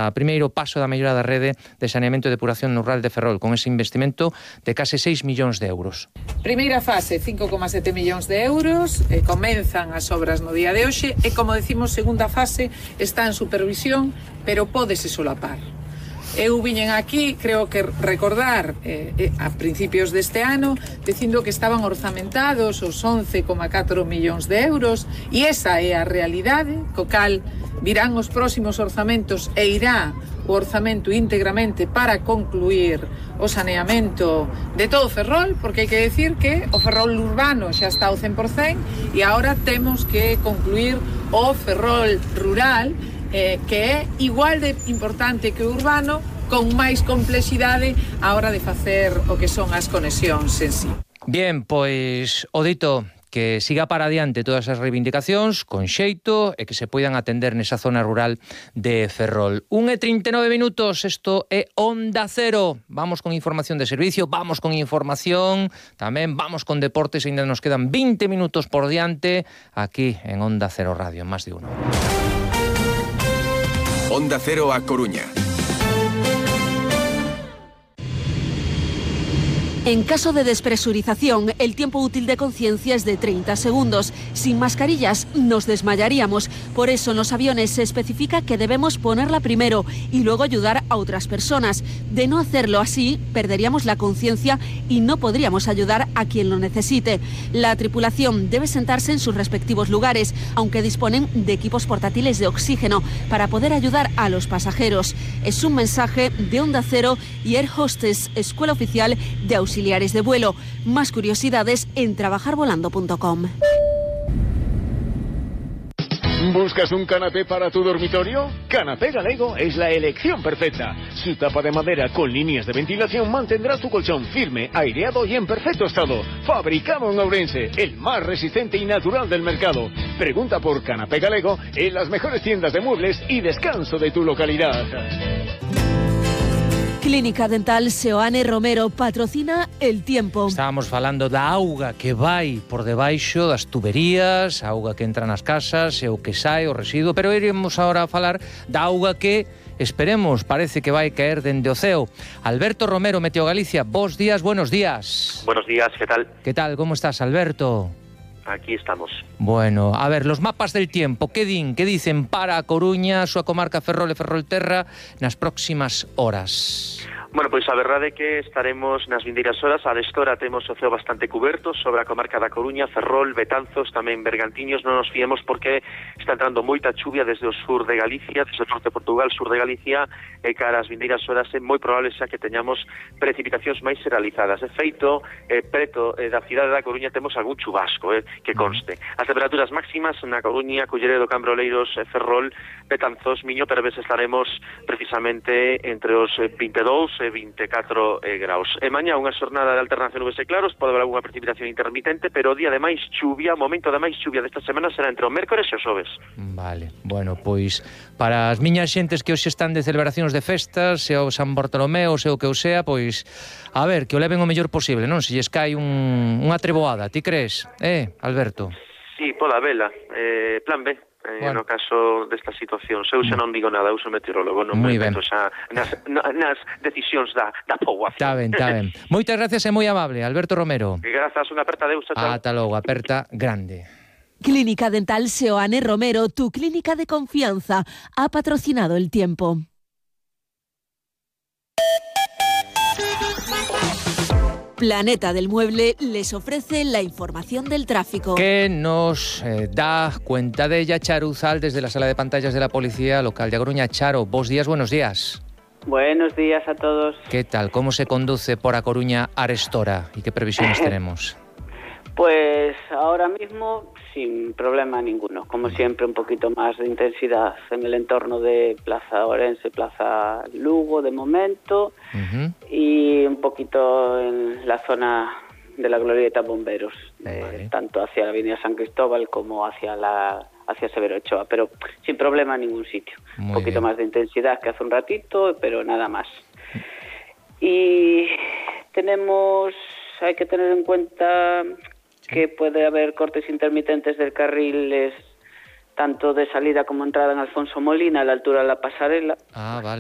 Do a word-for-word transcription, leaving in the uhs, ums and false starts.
A primeiro paso da mellora da rede de saneamento e depuración no rural de Ferrol, con ese investimento de case seis millóns de euros. Primeira fase, cinco coma sete millóns de euros, e comenzan as obras no día de hoxe, e como decimos, segunda fase está en supervisión, pero pódese solapar. Eu viñen aquí, creo que recordar, eh, eh, a principios deste ano, dicindo que estaban orzamentados os once coma catro millóns de euros, e esa é a realidade, co cal virán os próximos orzamentos e irá o orzamento íntegramente para concluir o saneamento de todo Ferrol, porque hai que decir que o Ferrol urbano xa está ao cen por cen e agora temos que concluir o Ferrol rural, eh, que é igual de importante que o urbano, con máis complexidade a hora de facer o que son as conexións en sí. Bien, pois o dito que siga para adiante todas as reivindicacións con xeito e que se poidan atender nesa zona rural de Ferrol. un e trinta e nove minutos, isto é Onda Cero. Vamos con información de servicio, vamos con información, tamén vamos con deportes, ainda nos quedan veinte minutos por diante aquí en Onda Cero Radio, en Más de Uno. Onda Cero a Coruña. En caso de despresurización, el tiempo útil de conciencia es de treinta segundos. Sin mascarillas nos desmayaríamos. Por eso en los aviones se especifica que debemos ponerla primero y luego ayudar a otras personas. De no hacerlo así, perderíamos la conciencia y no podríamos ayudar a quien lo necesite. La tripulación debe sentarse en sus respectivos lugares, aunque disponen de equipos portátiles de oxígeno para poder ayudar a los pasajeros. Es un mensaje de Onda Cero y Air Hostess, Escuela Oficial de Auxiliares de vuelo. Más curiosidades en trabajar volando punto com. ¿Buscas un canapé para tu dormitorio? Canapé Galego es la elección perfecta. Su tapa de madera con líneas de ventilación mantendrá tu colchón firme, aireado y en perfecto estado. Fabricado en Ourense, el más resistente y natural del mercado. Pregunta por Canapé Galego en las mejores tiendas de muebles y descanso de tu localidad. Clínica Dental Seoane Romero patrocina El Tiempo. Estábamos falando da auga que vai por debaixo das tuberías, a auga que entra nas casas e o que sae, o residuo, pero iremos agora a falar da auga que esperemos, parece que vai caer dende o ceo. Alberto Romero, Meteo Galicia, bos días, buenos días. Buenos días, ¿qué tal? ¿Qué tal? ¿Cómo estás, Alberto? Aquí estamos. Bueno, a ver, los mapas del tiempo, que din, que dicen para a Coruña, a súa comarca Ferrol e Ferrolterra nas próximas horas? Bueno, pois a verdade é que estaremos nas vindeiras horas. A destora temos o ceo bastante cuberto sobre a comarca da Coruña, Ferrol, Betanzos, tamén Bergantiños. Non nos fiemos porque está entrando moita chuvia desde o sur de Galicia, desde o norte de Portugal, sur de Galicia, e cara ás vindeiras horas é moi probable xa que teñamos precipitacións máis realizadas. De feito, eh, preto eh, da cidade da Coruña temos algún chubasco, eh, que conste. As temperaturas máximas na Coruña, Culleredo, Cambro, Oleiros, eh, Ferrol, Betanzos, Miño, Perves estaremos precisamente entre os eh, veinte e dous e vinte e catro eh, graus. E mañá unha xornada de alternancia nubes e claros, pode haber algunha precipitación intermitente, pero o día de máis chuvia, o momento de máis chuvia desta semana será entre o mércores e o xoves. Vale, bueno, pois para as miñas xentes que hoxe están de celebracións de festas, se o San Bartolomeo, se o que o sea, pois a ver, que o leven o mellor posible, non? Se lles cae un, unha treboada, ti crees? Eh, Alberto? Sí, poda vela, eh, plan B. Eh, bueno. No caso desta situación, eu xa non digo nada, eu sou meteorólogo, non me meto xa nas, nas decisións da, da poboación. Está ben, está ben. Moitas gracias e moi amable, Alberto Romero. Grazas, unha aperta de Deus. Ata logo, aperta grande. Clínica Dental Seoane Romero, tu clínica de confianza, ha patrocinado El Tiempo. Planeta del Mueble les ofrece la información del tráfico. Que nos eh, da cuenta de ella Charo Uzal desde la sala de pantallas de la Policía Local de A Coruña. Charo, vos días, buenos días. Buenos días a todos. ¿Qué tal? ¿Cómo se conduce por A Coruña Arestora? ¿Y qué previsiones tenemos? Pues ahora mismo sin problema ninguno. Como siempre, un poquito más de intensidad en el entorno de Plaza Ourense, Plaza Lugo de momento, uh-huh. y un poquito en la zona de la Glorieta Bomberos, eh, vale. tanto hacia la Avenida San Cristóbal como hacia la hacia Severo Ochoa, pero sin problema en ningún sitio. Muy un poquito bien. Más de intensidad que hace un ratito, pero nada más. Y tenemos, hay que tener en cuenta que puede haber cortes intermitentes del carriles tanto de salida como entrada en Alfonso Molina, a la altura de la pasarela. Ah, vale.